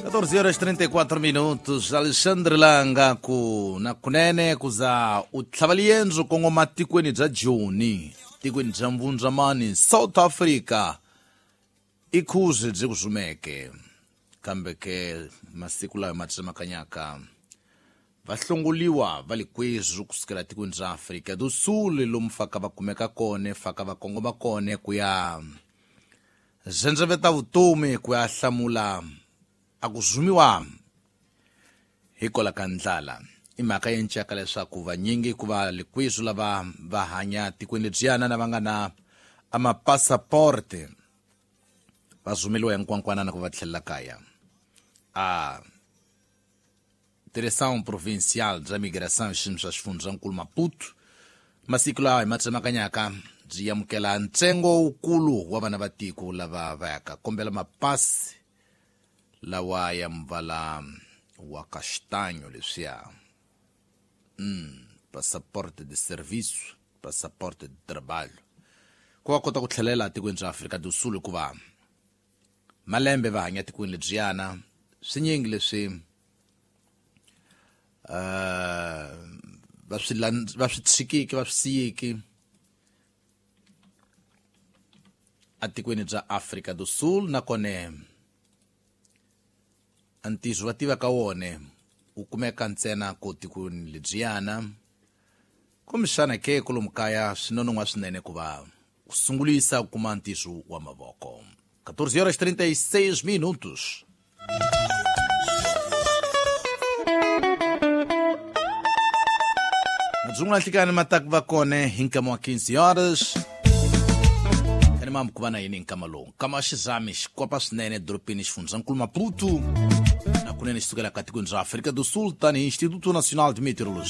14 horas 34 minutos. Alexandre Langa ku na kunene ku za u tlhava liendzo kongoma tikweni bya Joni, tikweni bya Mbundzamani, South Africa. I khuzi byi ku zumeke. Kambe ke masiku lawa ma tsemakanyaka va hlongoliwa va le kwezu kusukela tikweni ra Afrika do Sul lomu faka va kumeka kone faka va kongoma kone ku ya zendzeveta vutomi ku ya hlamula a ku zumiwa hikola ka ndlala. I mhaka ya ncaka leswaku vanyingi ku va lekwizu lava va hanya tikweni lebyiyana na va nga na amapasaporte va zumeliwa hinkwankwanana ku va tlhelela kaya. A Direção Provincial bya Migração xiyimo xa xifundzankulu Maputo masiku lawa hi ma tsemakanyaka byi amukela ntsengo wukulu wa vana va tiko lava va yaka kombela mapasi lawa ya mvala wa castanho leswiya, passaporte de serviço, passaporte de trabalho, ku va kota ku tlhelela tikweni ra Afrika do Sul hikuva malembe va hanya tikweni lebyiyana swinyingi leswi va swi tshikiki va swi siyiki atikweni bya Afrika do Sul, nakona ntizo va tiva ka wona wu kumeka ntsena ko tikweni lebyiyana. Kumbexana ke kolomu kaya swi nonon'hwa swinene ku va ku sungulisa ku kuma ntizo wa mavoko. 14 horas 36 minutos. Madzungu nhlikani mataku va kona hi nkama wa 15 horas. Kani mamu ku va na yini hi nkama lowu? Nkama wa xizami xikopa swinene edorobeni xifundzankulu Maputo na kunene xi sukela ka tikweni ra Afrika do Sul tanihi Instituto Nacional de Meteorologia.